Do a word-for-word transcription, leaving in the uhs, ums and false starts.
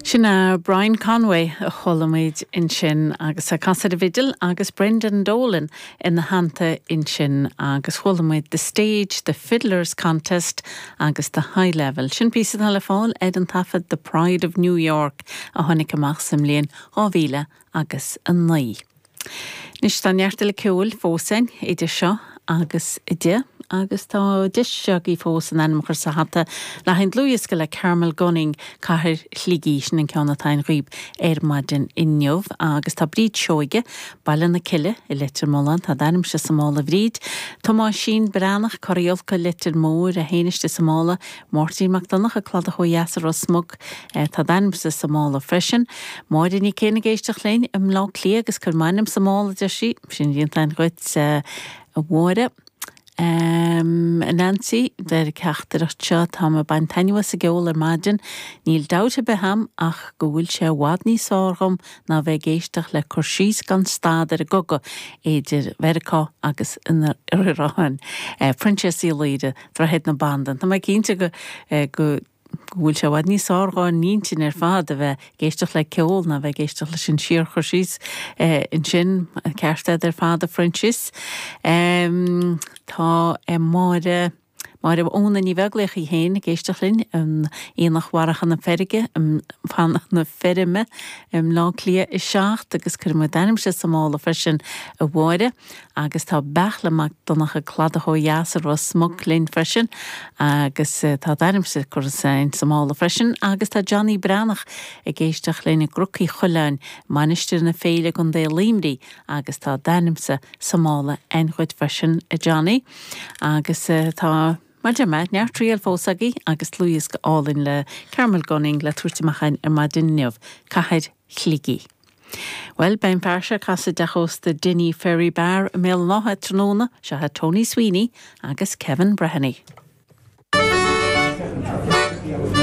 Sin é Brian Conway a chuala muid ansin agus ag casadh ar an bhfidil agus Brendan Dolan ina theannta ansin agus chuala muid The Stage, The Fiddlers Contest agus The High Level. Sin píosa atá le fáil ar an taifead The Pride of New York a tháinig amach sa mbliain dhá mhíle agus a naoi. Anois tá neart eile ceoil fós againn idir seo agus a deich agus tá deis agaibh fós an ainm a chur sa hata le haghaidh an dlúthdhiosca le Carmel Gunning, Cathair Shligigh, sin an ceann atá againn dhaoibh ar maidin inniu agus tá Bríd Seoige, Baile na Cille i Leitir Mealláin, tá d'ainmse sa mála a Bhríd, Tomáisín Breathnach, Corraí Ulca, Leitir Móir, é féin istigh sa mála, Máirtín Mac Donncha, Cladach Ó Dheas i Ros Muc, tá d'ainmse sa mála freisin, Máire Ní Céin ag éisteacht linn i mBleá Cliath agus cuir m'ainm sa mála, deir sí, sin déanta againn dhuit a Mháire. Um, Nancy deir an teachtaireacht seo tá mé ag baint taitneamh as an gceol ar maidin, níl dabht ar bith a'm ach go bhfuil sé i bhfad níos fearr dhom ná bheith ag éisteacht le cur síos gan stad ar an gcogadh idir Mheiriceá agus an Iaráin. Eh, Proinsias Uí Laoire, Droichead na Bandan. Tá mé cinnte go, eh, go go bhfuil sé i bhfad níos fearr dhár n-intinn ar fad a bheith ag éisteacht le ceol ná bheith ag éisteacht leis an síorchur síos ansin, ceart agat ar fad a Phroinsias. Tá Máire Máire Úna Ní Bheaglaoich í féin ag éisteacht linn in Aonach Mhara na Feirge na Feirme i mBleá Cliath a seacht agus cuirfidh muid d'ainmse sa mála freisin a Mháire agus tá Beartla Mac Donncha Cladach ó dheas i Ros Muc linn freisin agus tá d'ainmse curtha sa mála freisin agus tá Johnny Breathnach ag éisteacht linn i gCnoc Uí Choileáin, Mainistir na Féile i gContae Luimnigh agus tá d'ainmse sa mála againn dhuit freisin a Johnny agus tá Mar deir mé, neart triail fós agaibh agus dlúthdhiosca álainn le Carmel Gunning le tabhairt amach againn ar maidin inniu, Cathair Shligigh. Bhuel, beidh an fear seo ag casadh i dteach ósta Dinny Ferry Bar i mBéal an Átha tráthnóna, seo é Tony Sweeney agus Kevin Breheny.